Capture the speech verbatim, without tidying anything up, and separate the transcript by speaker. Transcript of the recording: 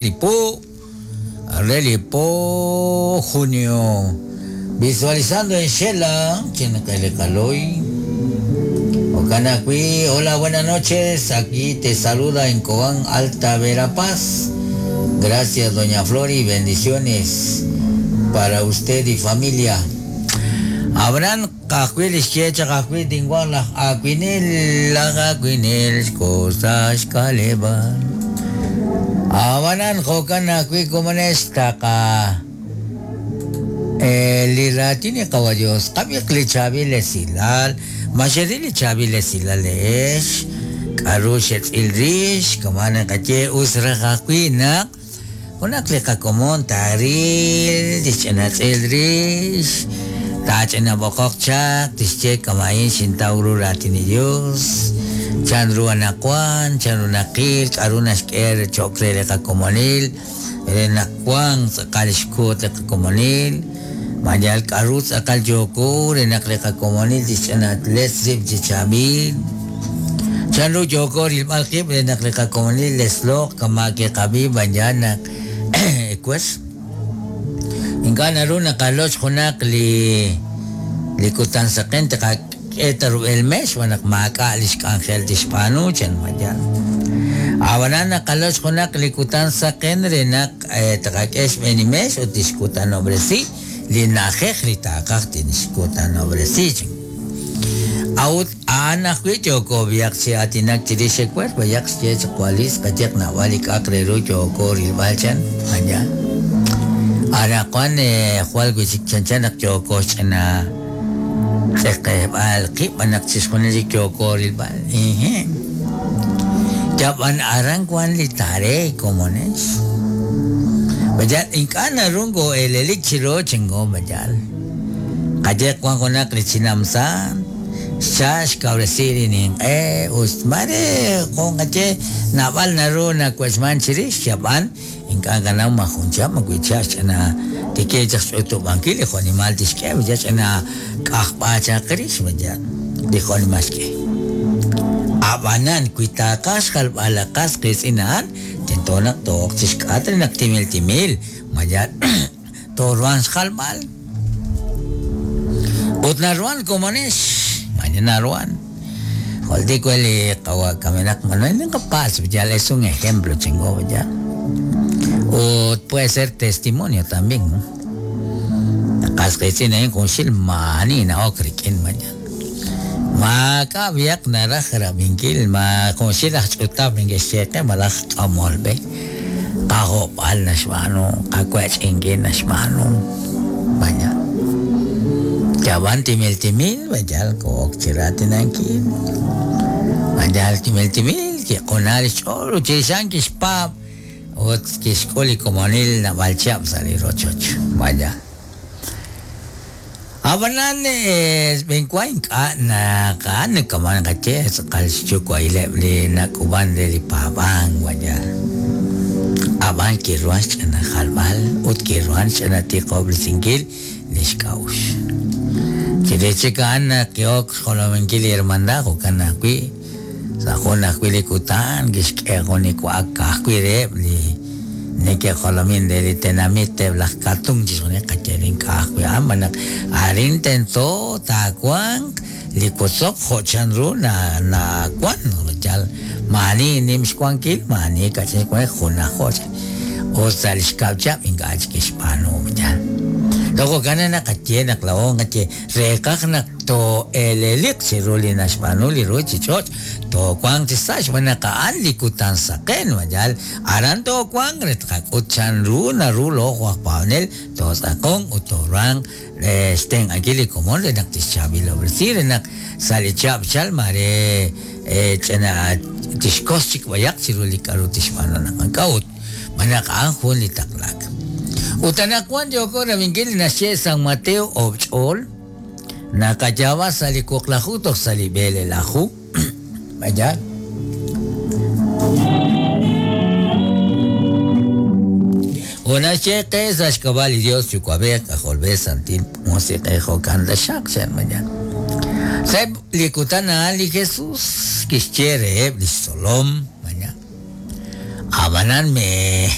Speaker 1: Lipo, Relipo, junio. Visualizando en Shela, Chinacalecaloy. Ocanacui, hola, buenas noches. Aquí te saluda en Cobán, Alta Verapaz. Gracias, doña Flori, bendiciones para usted y familia. Abraham kakwil isyecha kakwil dingwala akwinil akwinil cosas kaleban. Abanan jokan akwi komonesta ka liratini kawadiyos kami klichabi lesilal mashedili chabi lesilal esh karushet ilrish kamana kache usra kakwina unak komon taril dischanat ilrish tachena bokokchak tische kamain sintauru ratini Dios chanru anakuan chanru nakil arunas ker chokre kakomonil renakuan sakalishkut kakomonil mayal karut akal joko renak kakomonil tischanat lesrib chichabil chanru joko rilmalkib renak kakomonil leslok kamake kabi banyanak ekwes Inka naru nakaloch junak li likutan saken taka etaru el mes wanak maka alish angel tispanu chen mayan. Awanan nakaloch junak likutan saken renak taka es menimes o tiskutan obresi linaje ritakak tiniskutan obresi. Out anak joko biak si atinak chiri sekwes bayak si kualis kajek nawalik akreru joko rilbalchan hanya. Arakuan jual guisik chanchanak joko chana sekebal kip anak siskoneli joko rilbal. Ehe. Japan arangkuan litare komones. Bajal inkana rungo elelik chiro chengo bajal. Kajek kuan konak lichinamsan. Shash kabresiri nin eh usmare con kache nabal naru na kwesman chirish japan inkana mahuncha makuicha chana tike chas utu bankili animal tishke chana kahpacha krish bajal dijo animaske abanan kuitakas kalbalakas kisinan tentonak tok chishkatri nak timil timil mayat torwan kalbal utnaruan komones Naruan. Joldico el kawakamenak Manuel Capaz, ya es un ejemplo, chingo, ya. O puede ser testimonio también, ¿no? Kasqichin con shilmani na okrikin mañana. Ma kabiak narajra minkil ma con shilaj chutab mingesete malaj amolbe. Kagopal nashmano, kakwech ingin nashmano. Mañana. Jawan timil timil, bajal kok chiratin angkin. Bajal timil timil, ki konar choro chisan kispap, ot kiskoli komonil na balchap sali rochoch. Vaya. Abanan es benkuain ka na ka na kaman kache sakal chuko ile le na kuban de pabang vaya. Aban kiruan chana halbal, ut kiruan chana tikob singil nishkaush. Chirechikan kiok jolomenkili hermandad okanakui sajonakui likutan kishkejonikuakajkuireb li neke jolomin de litenamite blajkatung chisone kacherin kajkui amanak arin tento takuan likutzok jochanru na na kuan chal mani nimxkuankil mani kachinkuan junajoch o salishkauchap ingach kishpanu chal. Luego gana na kache na klaon kache rekak na to elelik si ruli na shmanuli ruchi choch to kwang chisash mana ka anlikutan saken majal aran to kwang retkak uchan ru na ru lo panel to sakong utorang estén angili komon le nak tishabi lo bresir nak salichap chal mare chena tishkoschik wayak si ruli karu tishmano na kaut manak anjun litaklak. Utanakuan yoko ramingil nasye San Mateo obchol nakayaba salikuaklahu tok salibele lahu vaya Una cheque sashkabal y Dios chucuabe cajolbe santil música jocanda shak mañana Seb likutana ali Jesús kischere eblis solom mañana Abanan me